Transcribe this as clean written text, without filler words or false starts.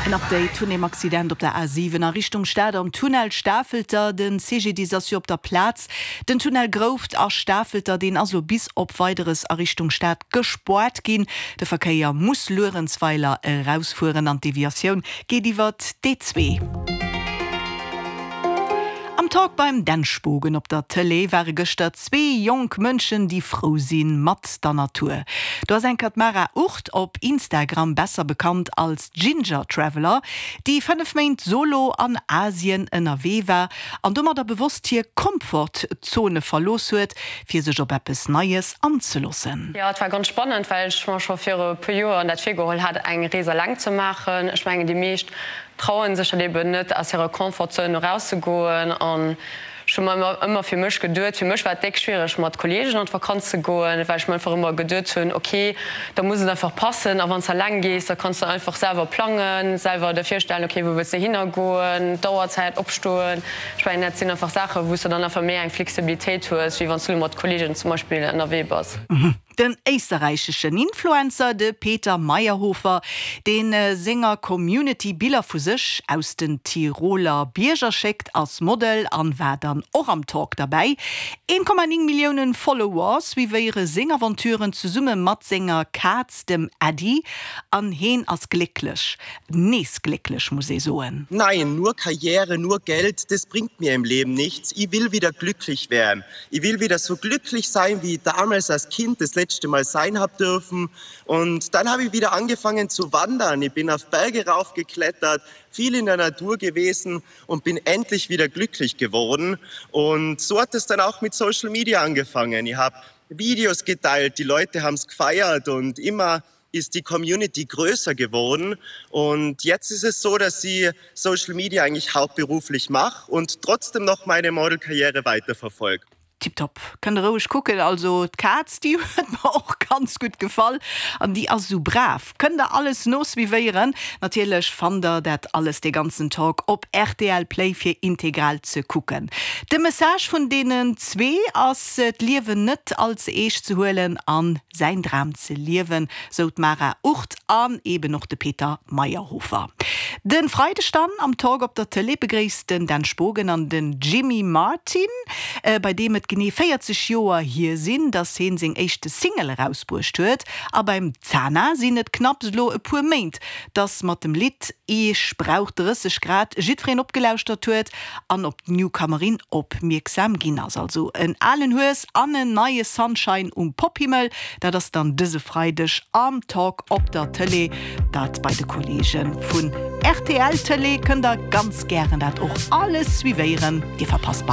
En Update vun dem Accident op der A7 a Richtung Stad am Tunnel Stafelter. Den CGDIS ass jo op der Plaz. Den Tunnel Grouft a Stafelter, deen ass elo bis op Weideres a Richtung Stad gespoart ginn. De Verkéier muss Luerenzweiler erausfueren an d'Deviatioun geet iwwert d'E2. Am Talk beim Dan Spogen op der Tëlee ware gëschter zwee jonk Mënschen, déi frou si mat der Natur. Do ass enker d'Mara Ucht, op Instagram besser bekannt als Ginger Traveler, déi 5 Méint solo an Asien ënnerwee war an domadder bewosst hir Komfortzone verlooss huet, fir sech op eppes Neies anzeloossen. Jo, et war ganz spannend, well ech mer scho viru e puer Joer dat virgeholl hat, eng Rees eleng ze maachen. Ech mengen, déi meescht trauen sech dat eben net aus hirer Comfort-Zone erauszegoen an ech hu mer ëmmer fir mech geduet, fir mech war et déck schwiereg mat Kollegen an d'Vakanz ze goen, well ech mer einfach ëmmer geduet hunn, ok da muss et einfach passen a wann s de eleng gees, da kanns de einfach selwer plangen, selwer der virstellen, ok wou wëlls de hinner goen, d'Auerzäit, opstoen. Ech mengen dat sinn einfach Saachen, wou s de dann einfach méi eng Flexibilitéit hues, wéi wann s du elo mat Kollegen zum Beispill ënnerwee bass. Den éisterräicheschen Influencer, de Peter Maierhofer, dee senger Community Biller vu sech aus den Tiroler Bierger schéckt, ass Model an war dann och am Talk derbäi. 1,9 Milliounen Follower suivéiere seng Aventuren zesumme mat senger Kaz, dem Äddi, an heen ass glécklech. Nees glécklech, muss ee soen. Nein, nur Karriere, nur Geld, das bringt mir im Leben nichts. I will wieder glücklich werden. I will wieder so glücklich sein, wie i damals als Kind das letzte Mal sein hab dürfen. Und dann habe i wieder angefangen zu wandern. I bin auf Berge raufgeklettert, viel in der Natur gewesen und bin endlich wieder glücklich geworden. Und so hat es dann auch mit Social Media angefangen. I hab Videos geteilt, die Leute haben's gfeiert und immer ist die Community größer geworden und jetzt ist es so, dass sie Social Media eigentlich hauptberuflich mach und trotzdem noch meine Modelkarriere weiterverfolg. Tiptop, kënnt der roueg kucken. Also d'Kaz déi huet mer och ganz gutt gefall an déi ass esou brav. Kënnt der alles nosuivéieren. Natierlech fannt der dat alles, dee ganzen Talk op rtl Play fir integral ze kucken. De Message vun deenen zwee ass d'Liewen net all ze eescht ze huelen an säin Dram ze liewen, sou d'Mara Ucht an eben och de Peter Maierhofer. De Freideg dann am Talk op der Tëlee begréisst den Dan Spogen an den Jimmy Martin, bei deem et genee 40 Joer hier sinn, dass heen seng éischte Single erausbruecht huet. A beim Zana sinn et knapps elo e puer Méint, dass mat dem Lidd Ech brauch 30 Grad jiddwereen opgelauschtert huet an op d'Newcomerin opmierksam ginn ass. Also en alen Hues an en neie Sunshine um Pophimmel, dat ass dann dëse Freideg am Talk op der Tëlee. Dat bei de Kolleege vun rtl Tëlee. Kënnt der ganz gären dat och alles suivéieren, dir verpasst bei.